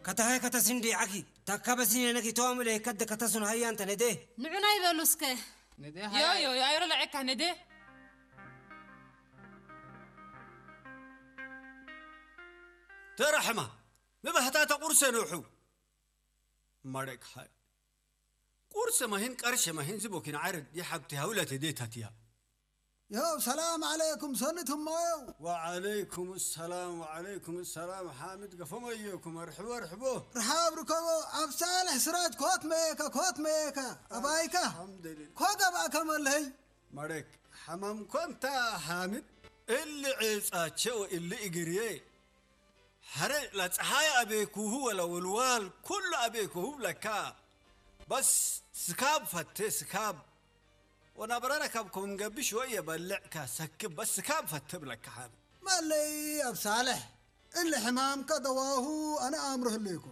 ኣታ ሃይ ከተስንዲ ዓኪ፣ ታካ በስኒ ነኪ ተዋምለ ከደ ከተስኑ ሃያ እንተ ነደ። ንዑና ይበሉ እስከ። ነደ ዮ፣ ሃያ። ዮ፣ ዮ፣ ኣይሮ ለዐካ ነደ። ተራሕማ፣ ምባህታ ተቁርሰ ንውሑ። ማረክ ሃይ። ቁርሰ ማሂን ቀርሸ ማሂን ዝቦኪን ዓረድ የሓብቲ ሃውለት የዴታትያ። ዮው፣ ሰላም ዓለይኩም፣ ሰኒት እማየው። ወዓለይኩም ሰላም፣ ወዓለይኩም ሰላም። ሓሚድ ገፎመዮኩም፣ ኣርሕቦ፣ ኣርሕቦ። ርሓብ ርከቦ፣ ኣብ ሳልሕ ስራጅ ኮት መየካ፣ ኮት መየካ። ኣባይካ። ኣልሓምዱሊላህ። ኮ ገባእካ መለይ። ማረክ፣ ሓማም ኮንታ ሓሚድ፣ እሊ ዒጻቸው፣ እሊ እግርዬ። ሐረ ለፀሐይ አቤኩሁ ወለውልዋል ኩሉ አቤኩሁ ብለካ። በስ ስካብ ፈቴ ስካብ። ወናበረረ ካብ ኮም ገብሽ ወየ በልዕካ ሰክብ በስ ስካብ ፈቴ ብለካ ሓን። መለይ ኣብ ሳልሕ እሊ ሕማምካ ደዋሁ ኣነ ኣምርህ ኣለይኩ።